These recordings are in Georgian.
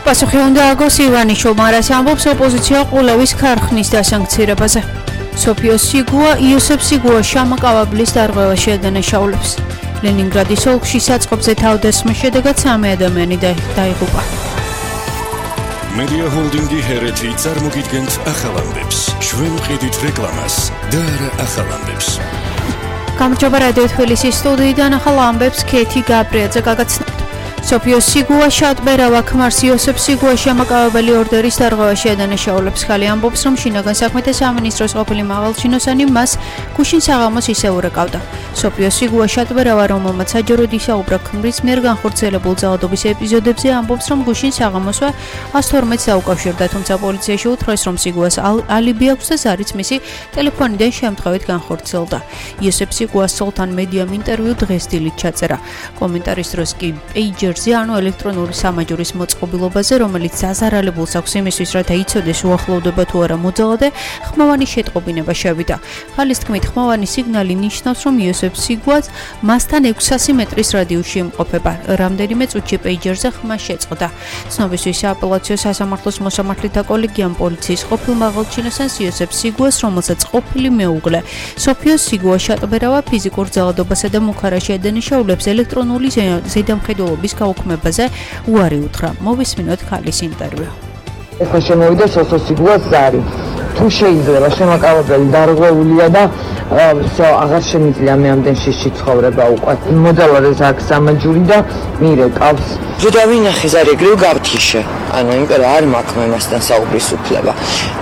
პასუხი უნდა აგოს ივანიშვილმა, რაც ამბობს ოპოზიცია ყულევის ქარხნის დასანქცირებაზე. სოფიო სიგუა, იოსებ სიგუა შამაკავაბლის დარღვევაში ადანაშაულებს. ლენინგრადის ოლქში საწყობზე თავდასხმის შედეგად 3 ადამიანი დაიღუპა. Media Holdingi Hereti წარმოგიდგენთ ახალ ამბებს. ჩვენ ვყიდით რეკლამას და არა ახალ ამბებს. გამარჯობა რადიო თბილისის სტუდიიდან ახალ ამბებს ქეთი გაბრიაძე გაგაცნობთ. სოფიო სიგუა შატბერავა ქმარს იოსებ სიგუა შამაკავებელი ორდერის დარღვევაში ადანაშაულებს. ხალი ამბობს, რომ შინაგან საქმეთა სამინისტროს ყოფილი მაღალჩინოსანი მას გუშინ საღამოს ისე ურეკავდა. სოფიო სიგუა შატბერავა, რომელმაც საჯაროდ ისაუბრა ქმრის მიერ განხორციელებულ ძალადობის ეპიზოდებზე, ამბობს, რომ გუშინ საღამოსვე 112-ს დაუკავშირდა, თუმცა პოლიციაში უთხრეს, რომ სიგუას ალიბი აქვს და ზარიც მისი ტელეფონიდან შემთხვევით განხორციელდა. იოსებ სიგუას სულთან მედიამ ინტერვიუ დღეს დილით ჩაწერა. კომენტარის დროს კი პეიჯერზე, ანუ ელექტრონული სამაჯურის მოწყობილობაზე, რომელიც ზაზარალებულს აქვს იმისთვის, რათა იცოდეს უახლოვდება თუ არა მოძალადე, ხმოვანი შეტყობინება შევიდა. ხალის თქმით, ხმოვანი სიგნალი ნიშნავს, რომ იოსებ სიგუას მასთან 600 მეტრის რადიუსში იმყოფება. რამდენიმე წუთში პეიჯერზე ხმა შეწყდა. ცნობისთვის სააპელაციო სასამართლოს მოსამართლეთა კოლეგიამ პოლიციის ყოფილ მაღალჩინოსანს იოსებ სიგუას, რომელსაც ყოფილი მეუღლე სოფიო სიგუა შატბერავა ფიზიკურ ძალადობასა და მუქარაში ადანაშაულებს ელექტრონული ზედამხედველობის გაუქმებაზე უარი უთხრა. მოვისმინოთ ხალის ინტერვიუ. ეხლა შემოვიდა სოფიო სიგუას ზარი. თუ შეიძლება შემაკავებელი დარღვეულია და აღარ შემიძლია მე ამდენ შიში ცხოვრება უკვე. მოძალადეს აქ სამაჯური და მირეკავს. ჯდა ვინახე ზარი ეგრევ გავთიშე. ანუ იმიტომ რომ არ მაქვს მე მასთან საუბრის უფლება.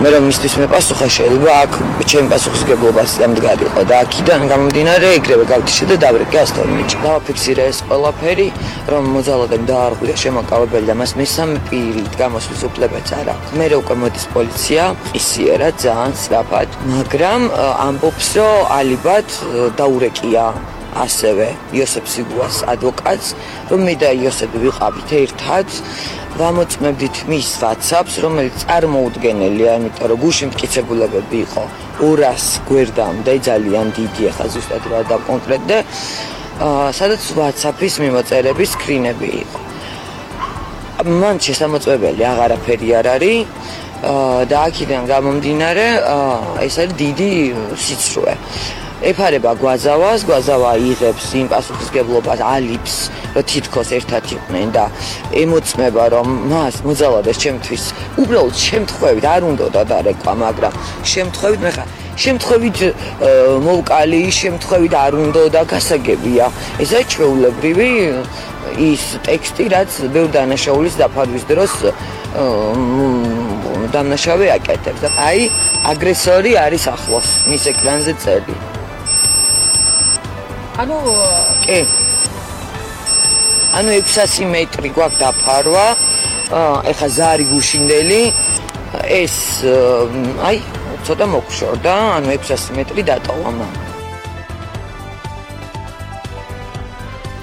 მე რომ მისთვის მეპასუხა შეიძლება აქ ჩემი პასუხისგებლობას დამდგარიყო და აქედან გამომდინარე ეგრევე გავთიშე და დავრეკე 112-ში. დავაფიქსირე ეს ყველაფერი, რომ მოძალადემ დაარღვია შემაკავებელი და მას მესამე პირით გამოსვლის უფლებაც არ აქვს. მე უკვე მოდის პოლიცია, ისიერა ძალიან სწრაფად, მაგრამ ამბობს, რომ ალიბად დაურეკია ასევე იოსებ სიგუას ადვოკატს, რომ მე და იოსები ვიყავით ერთად, ვამოწმებდით მის WhatsApp-ს, რომელიც წარმოუდგენელია, იმიტომ რომ გუშინ მტკიცებულებები იყო 200 გვერდამდე, ძალიან დიდი, ახლა ზუსტად რა დავკონკრეტდე, სადაც WhatsApp-ის მიმოწერების სკრინები იყო. მან შესამოწმებელი აღარაფერი არ არის და აქედან გამომდინარე ეს არის დიდი სიცრუე. ეფარება გვაზავას, გვაზავა იღებს იმ პასუხისგებლობას, ალიბს, რომ თითქოს ერთად იყვნენ და ემოწმება, რომ მას მოძალადეს ჩემთვის უბრალოდ შემთხვევით არ უნდა დარეკვა, მაგრამ შემთხვევით შემთხვევით მოვკალი, შემთხვევით არ უნდა და გასაგებია. ესაა ჩვეულებრივი ის ტექსტი, რაც ბევრ დანაშაულის დაფარვის დროს დამნაშავე აკეთებს. აი, აგრესორი არის ახლოს, მის ეკრანზე წერილი. კი. 600 მეტრი გვაქვს დაფარვა. ეხა ზარი გუშინდელი ეს აი, ცოტა მოგშორდა, 600 მეტრი დატოვა მან.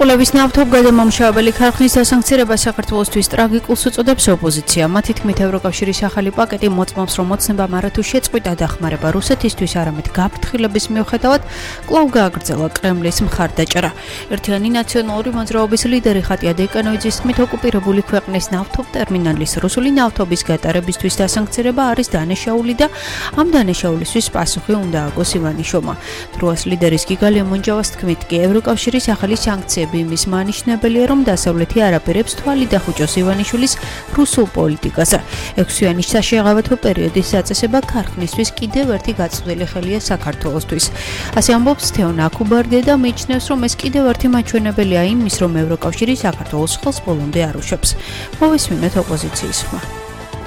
ყულევის ნავთობგადამამუშავებელი ქარხნის დასანქცირება საქართველოსთვის ტრაგიკულს უწოდებს ოპოზიცია. მათი თქმით, ევროკავშირის ახალი პაკეტი მოწმობს, რომ მოცნება მარათუ შეწყვიტა დახმარება რუსეთისთვის, არამედ გაფრთხილების მიუხედავად კვლავ გააგრძელა კრემლის მხარდაჭერა. ერთიანი ნაციონალური მოძრაობის ლიდერი ხატია დეკანოიძის თქმით, ოკუპირებული ქვეყნის ნავთობტერმინალის რუსული ნავთობის გატარებისთვის დასანქცირება არის დანაშაული და ამ დანაშაულისთვის პასუხი უნდა აგოს ივანიშვილმა. დროას ლიდერის გიგალია მონჯავას თქმით, კი ევროკავშირის ახალი სანქციები იმის მანიშნებელია, რომ დასავლეთი არაპირებს თვალი დახუჭოს ივანიშვილის რუსულ პოლიტიკაზე. 6-იანი საშეღავათო პერიოდის დაწესება ქარხნისთვის კიდევ ერთი გაწყვეტილი ხელია საქართველოსთვის. ასე ამბობს თეონ აკუბარდია და მიიჩნევს, რომ ეს კიდევ ერთი მაჩვენებელია იმის, რომ ევროკავშირი საქართველოს ხელს ბოლომდე არ უშვებს. მოვისმინოთ ოპოზიციის ხმა.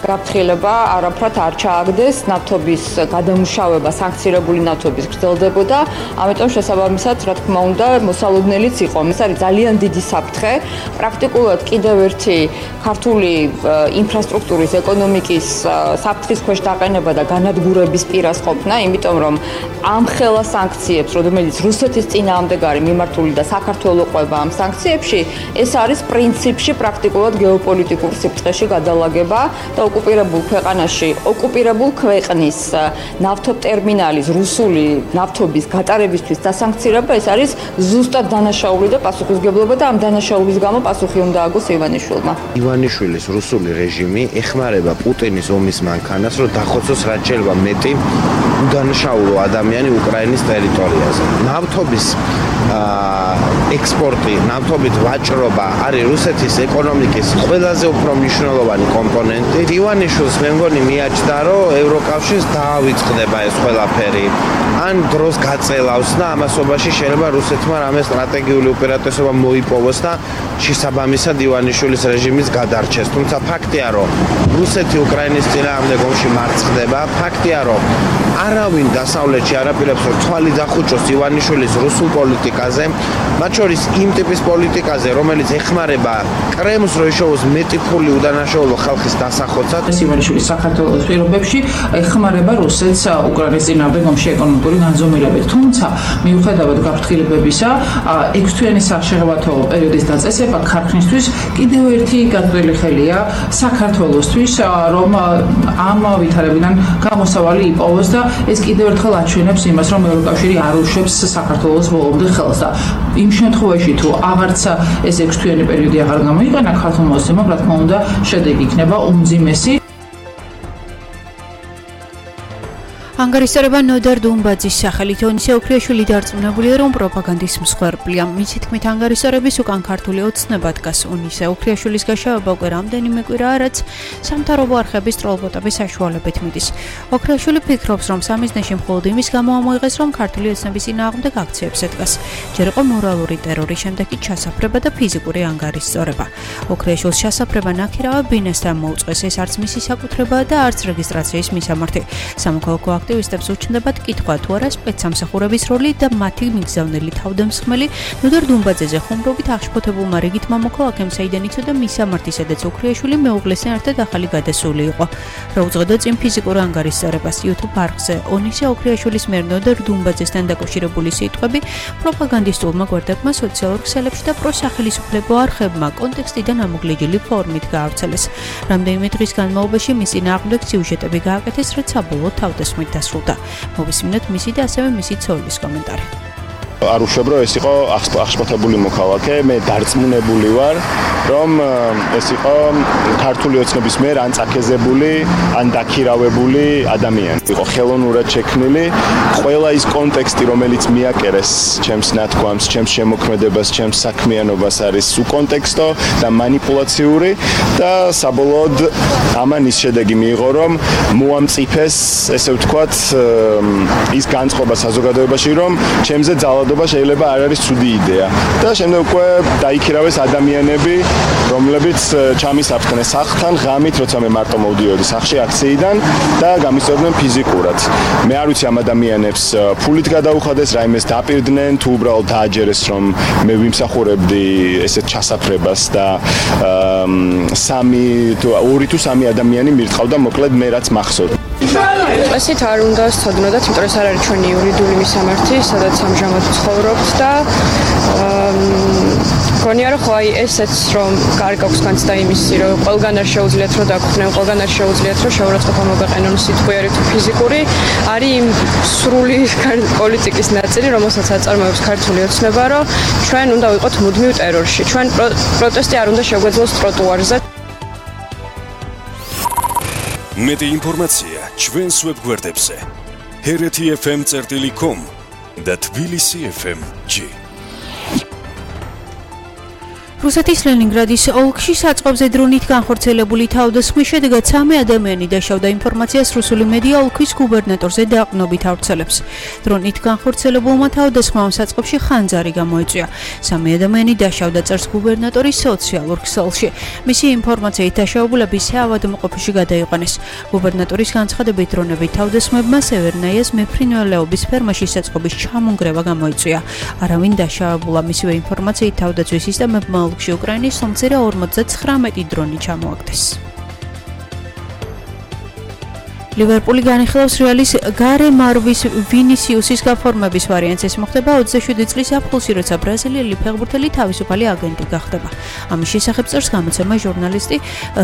გაფრთხილება არაფრად არ ჩააგდეს, ნავთობის გადამუშავება, სანქცირებული ნავთობის გრძელდებოდა, ამიტომ შესაბამისად, რა თქმა უნდა, მოსალოდნელიც იყო. ეს არის ძალიან დიდი საფრთხე. პრაქტიკულად კიდევ ერთი ქართული ინფრასტრუქტურის, ეკონომიკის საფრთხის ქვეშ დაყენება და განადგურების პირას ყოფნა, იმიტომ რომ ამ ხელა სანქციებს, რომელიც რუსეთის წინააღმდეგ არის მიმართული და საქართველოს ყვება ამ სანქციებში, ეს არის პრინციპში პრაქტიკულად გეოპოლიტიკურ სიფრთხეში გადალაგება და ოკუპირებულ ქვეყანაში ოკუპირებულ ქვეყნის ნავთობტერმინალის რუსული ნავთობის გატარებისთვის დასანქცირება ეს არის ზუსტად დანაშაული და პასუხისმგებლობა და ამ დანაშაულის გამო პასუხი უნდა აგოს ივანიშვილმა. ივანიშვილის რუსული რეჟიმი ეხმარება პუტინის ომის მანქანას, რომ დახოცოს რაც შეიძლება მეტი უდანაშაულო ადამიანი უკრაინის ტერიტორიაზე. ნავთობის ექსპორტი, ნავთობით ვაჭრობა არის რუსეთის ეკონომიკის ყველაზე უფრო მნიშვნელოვანი კომპონენტი. ივანიშვილს მე მგონი მიაჩნდა, რომ ევროკავშირს დაავიწყდება ეს ყველაფერი. ან დროს გაწელავს და ამასობაში შეიძლება რუსეთმა რამე სტრატეგიული უპირატესობა მოიპოვოს და შესაბამისად ივანიშვილის რეჟიმის გადარჩეს. თუმცა ფაქტია, რომ რუსეთი უკრაინის წინააღმდეგ ომში მარცხდება. ფაქტია, რომ არავინ დასავლეთში არ აპირებს, რომ თვალი დახუჭოს ივანიშვილის რუსულ პოლიტიკაზე, მათ შორის იმ ტიპის პოლიტიკაზე, რომელიც ეხმარება კრემლს, რომ იშოვოს მეტი ფული უდანაშაულო ხალხის დასახოცად. ივანიშვილი საქართველოს პირობებში ეხმარება რუსეთს უკრაინის წინააღმდეგ ომში ეკონომიკური განზომილებით. თუმცა მიუხედავად გაფრთხილებებისა, 6 თვიანი სახშეღავათო პერიოდის დაწესება ქარხნისთვის კიდევ ერთი გაწველი ხელია საქართველოსთვის, რომ ამ ვითარებიდან გამოსავალი იპოვოს და ეს კიდევ ერთხელ აჩვენებს იმას, რომ ევროკავშირი არ უშვებს საქართველოს ბოლომდე ხელს და იმ შემთხვევაში თუ აღარც ეს 6 თვიანი პერიოდი აღარ გამოიყენა ქართულ მოსემამ, რა თქმა უნდა, შედეგი იქნება უმძიმესი. ანგარიშსწორება ნოდარ დუმბაძის სახელით ონისე ოქრიაშვილი დარწმუნებულია, რომ პროპაგანდის მსხვერპლია. მისი თქმით, ანგარიშსწორების უკან ქართული ოცნება დგას. ონისე ოქრიაშვილის გაშავება უკვე რამდენიმე კვირაა, რაც სამთავრობო არხების ტროლბოტების საშუალებით მიდის. ოქრიაშვილი ფიქრობს, რომ სამიზნეში მხოლოდ იმის გამო ამოიღეს, რომ ქართული ოცნების წინააღმდეგ აქციებზე დგას. ჯერ იყო მორალური ტერორი, შემდეგ კი ჩასაფრება და ფიზიკური ანგარიშსწორება. ოქრიაშვილს ჩასაფრება ნაქირავა ბინასთან მოუწყვეს. ეს არც მისი საკუთრებაა და არც რეგისტრაციის მისამართი. სამოქალაქო აქტივისტებს უჩნდებათ კითხვა თუ არა სპეცსამსახურების როლი და მათი მიგზავნელი თავდამსხმელი ნოდარ დუმბაძეზე ხუმრობით აღშფოთებულმა რიგით მამოქალაქემ საიდან იცოდა მისამართი, სადაც ოქრიაშვილი მეუღლესთან ერთად ახალი გადასული იყო. რა უძღოდა წინ ფიზიკურ ანგარიშსწორებას YouTube არხზე ონისე ოქრიაშვილის მიერ ნოდარ დუმბაძესთან დაკავშირებული სიტყვები პროპაგანდისტულმა გვერდებმა სოციალურ ქსელებში და პროსახელისუფლებო არხებმა კონტექსტიდან ამოგლიჯილი ფორმით გაავრცელეს. რამდენიმე დღის განმავლობაში მის წინააღმდეგ სიუჟეტები გააკეთეს, რაც საბოლოოდ თავდასხმით დასრულდა. მოვისმინოთ მისი და ასევე მისი ცოლის კომენტარი. არ უშვებ, რომ ეს იყო აღშფოთებული მოქალაქე, მე დარწმუნებული ვარ, რომ ეს იყო ქართული ოცნების მიერ ან წაქეზებული, ან დაქირავებული ადამიანი. იყო ხელოვნურად შექმნილი, ყველა ის კონტექსტი, რომელიც მიაკერეს ჩემს ნათქვამს, ჩემს შემოქმედებას, ჩემს საქმიანობას არის უკონტექსტო და манипуლაციური და საბოლოოდ ამან ის შედეგი მიიღო, რომ მოამწიფეს, ესე ვთქვათ, ის განწყობა საზოგადოებაში, რომ ჩემზე ძალადობა შეიძლება არ არის ცუდი იდეა და შემდეგ უკვე დაიქირავეს ადამიანები, რომლებიც ჩამისაფრთხნენ სახლთან ღამით, როცა მე მარტო მოვდიოდი სახლში აქციიდან და გამისწორდნენ ფიზიკურად. მე არ ვიცი ამ ადამიანებს ფულით გადაუხადეს, რაიმეს დაპირდნენ, თუ უბრალოდ დააჯერეს, რომ მე ვიმსახურებდი ესეთ ჩასაფრებას და 2 თუ 3 ადამიანი მირტყავდა, მოკლედ მე რაც მახსოვს. ასეთ არ უნდა სწოდნოდათ, იმიტომ რომ ეს არ არის ჩვენი იურიდიული მისამართი, სადაც ამჟამად ცხოვრობთ და გონია რომ ხო აი ესეც რომ კარგი აქვს განცდა იმისი, რომ ყველგან არ შეუძლიათ რომ დაგხვდნენ, ყველგან არ შეუძლიათ რომ შეურაცხყოფა მოგაყენონ სიტყვიერი თუ ფიზიკური, არის იმ სრული პოლიტიკის ნაწილი, რომელსაც აწარმოებს ქართული ოცნება, რომ ჩვენ უნდა ვიყოთ მუდმივ ტერორში. ჩვენ პროტესტი არ უნდა შეგვეძლოს ტროტუარზე. მეტი ინფორმაცია ჩვენს ვებგვერდებზე hereti.fm.com და tbilisi.fm.g. რუსეთის ლენინგრადის ოლქში საწყობზე დრონით განხორციელებული თავდასხმის შედეგად 3 ადამიანი დაშავდა. ინფორმაციას რუსული მედია ოლქის გუბერნატორზე დაყრდნობით ავრცელებს. დრონით განხორციელებულმა თავდასხმამ საწყობში ხანძარი გამოიწვია. 3 ადამიანი დაშავდა, წერს გუბერნატორი სოციალურ ქსელში. მისი ინფორმაციით დაშავებულები საავადმყოფოში გადაიყვანეს. გუბერნატორის განცხადებით დრონებით თავდასხმებმა სევერნაიას მეფრინველეობის ფერმაში საწყობის ჩამონგრევა გამოიწვია. არავინ დაშავებულა. მისივე ინფორმაციით თავდაცვის სისტემებმა ოლქში უკრაინის სომცირა 59 დრონი ჩამოაგდეს. ლივერპული განიხილავს რეალის გარე მარვის ვინისიუსის გაფორმების ვარიანტს. ეს მოხდება 27 წლის აპრილში, როცა ბრაზილიელი ფეხბურთელი თავისუფალი აგენტი გახდება. ამის შესახებ წერს გამოცემა ჟურნალისტი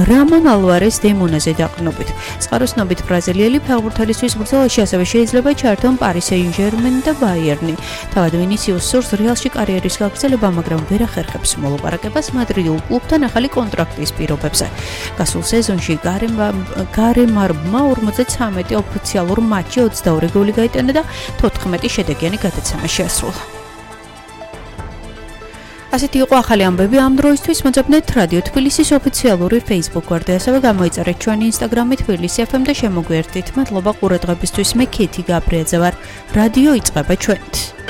რამონ ალვარეს დე მონაზე დაყრდნობით. წყაროსნობით ბრაზილიელი ფეხბურთელისთვის ბრძოლაში ასევე შეიძლება ჩაერთონ პარი სენ-ჟერმენი და ბაიერნი. თავად ვინისიუსს სურს რეალში კარიერის გაგრძელება, მაგრამ ვერ ახერხებს მოლაპარაკებას მადრიდულ კლუბთან ახალი კონტრაქტის პირობებზე. გასულ სეზონში გარემარმა 53 ოფიციალურ მატჩში 22 გოლი გაიტანა და 14 შედეგიანი გადაცემა შეასრულა. ასეთი იყო ახალი ამბები ამ დროისთვის. მოძებნეთ რადიო თბილისის ოფიციალური Facebook გვერდი, ასევე გამოიწერეთ ჩვენი Instagram-ი თბილისი FM და შემოგვიერთდით. მადლობა ყურადღებისთვის. მე ქეთი გაბრიაძე ვარ. რადიო იწყება ჩვენით.